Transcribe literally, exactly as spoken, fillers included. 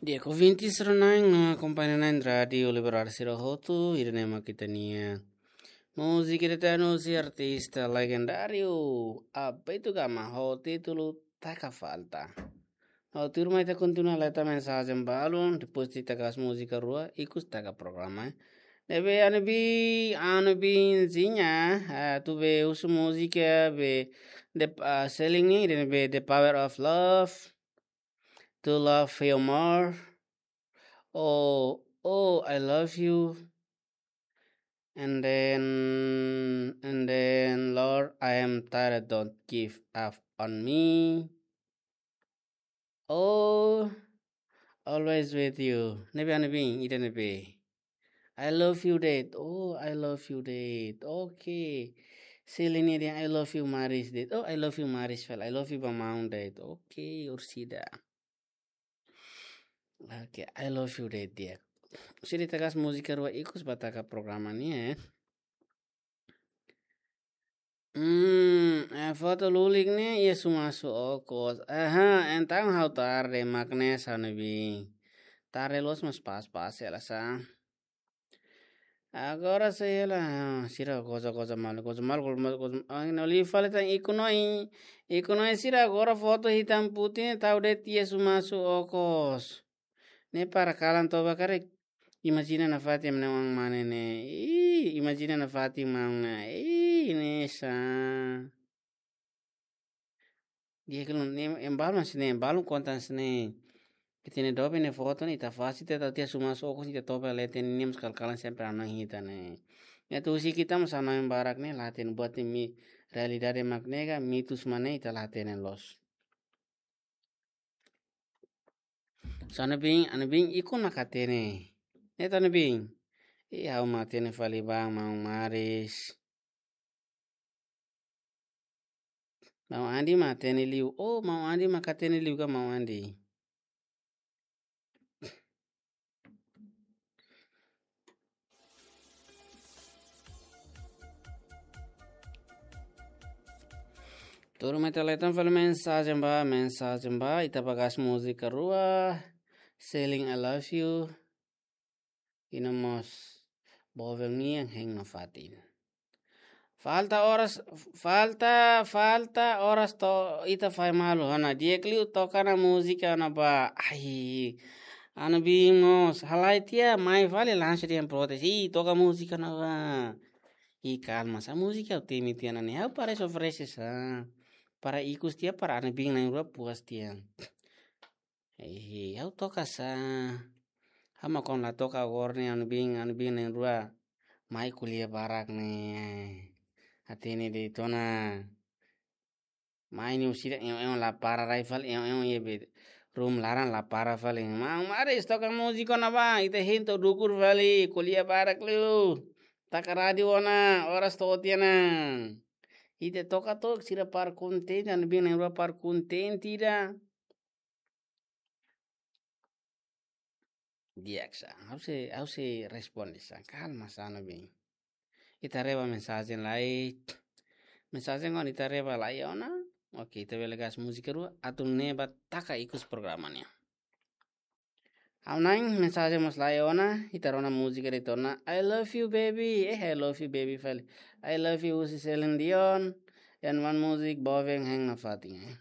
Di'ak, ouvinte sira-ne'e no akompaña na'in rádiu Liberal sira hotu, ida-ne'e mak ita-nia múzika eternu husi artista legendáriu Abeto Gama ho títulu Taka Falta. Ho tuirmai ita kontinua leta mensajen balun, depois ita kaer múzika rua, ikus taka programa, eh. Ne'ebé Anubin, Anubinzinha, ah, atu be husu múzika be the, ah, selling ne'e, ida-ne'ebé The Power of Love, To Love You More, oh, oh, I Love You, and then, and then, Lord, I Am Tired, Don't Give Up on Me. Oh, Always With You. Ne'ebé Anubin, ida-ne'ebé. I Love You Dead. Oh, I Love You Dead. Oke. Selling ne'e dehan I Love You Maris Dead. Oh, I Love You Maris fali. I Love You ba maun de'it. Oke, orsida. Oke, I Love You Dead, di'ak. Orsida ita kaer múzika rua ikus ba taka programa ne'e, eh. Hmm, eh, foto lulik ne'e iha Sumasu Okos. Aha, entaun ha'u tarde mak ne'e, Anubin. Tarde loos mas pas-pas hela sa. Agora sei hela, ah, sira goza-goza malu, goza malu, goza malu, goza malu. Ah, no li fali tan ikus no i, ikus no i sira agora foto hitam putih ne'e tau de'it iha Sumasu Okos. Ne'e para kalan toba karik. Imajina nafatin maun mane ne'e. Ih, imajina nafatin maun ne'e. Ih, ne'e sa. Di'ak, kilo ne'e, ema balu mas ne'e, ema balu konta hanesan ne'e. Ita-nia doben ne'e foto ne'e, ita fase ita tau tiha Sumasu Okos, ita toba leten ne'e, mas kal-kalan sempre anang hita ne'e. Ne'e atu husik ita mas anang barak ne'e, la hatene buat ne'e realidade mak ne'e ka, mitus mak ne'e, ita la hatene loos. Sa Anubin, Anubin ikus mak hatene. Ne'e ta Anubin. Ih, ha'u mak hatene fali ba maun Maris. Maun Andi mak hatene liu. Oh, maun Andi mak hatene liu ka maun Andi. Tuirmai ita leten fali mensajen ba, mensajen ba, ita ba kaer múzika rua, Selling I Love You, i no mós Boven nian hein nafatin. Falta oras, falta, falta oras to'o ita fahe malu. Ha'u hanoin di'ak liu toka ona múzika ona ba. Ai, Anubin mós, halai tiha, mai fali langsung dehan protes. Ih, toka múzika ona ba. Ih, kalma sa, múzika ha'u temi tiha ona ne'e. Ha'u para oferese sa. Para ikus tiha, para Anubin na'in-rua puas tiha. Ih, ha'u toka sa. Ha'u mak kona la toka agora ne'e, Anubin, Anubin na'in-rua mai ko'alia barak ne'e. Hatene de'it ona. Mai ne'e orsida, eu, eu la para rai fali, eu, eu, iha be room laran la para fali. Maun Maris toka múzika ona ba, ita hein to'o dukur fali, ko'alia barak liu. Taka rádiu ona, oras to'o tiha ona. Ita toka to'o, sira para kontente, Anubin na'in-rua para kontente ida. Di'ak sa, ha'u sei, ha'u sei responde sa, kalma sa Anubin. Ita haree ba mensajen lai, mensajen ona ita haree ba lai ona. Oke, ita bele kaer múzika rua, atu nune'e ba taka ikus programa nian. Ha'u-nia mensajen mós lai ona, ita rona múzika de'it ona, I love you baby, eh, I love you baby fali. I love you husi Celine Dion, and one music Boven hein nafatin, eh.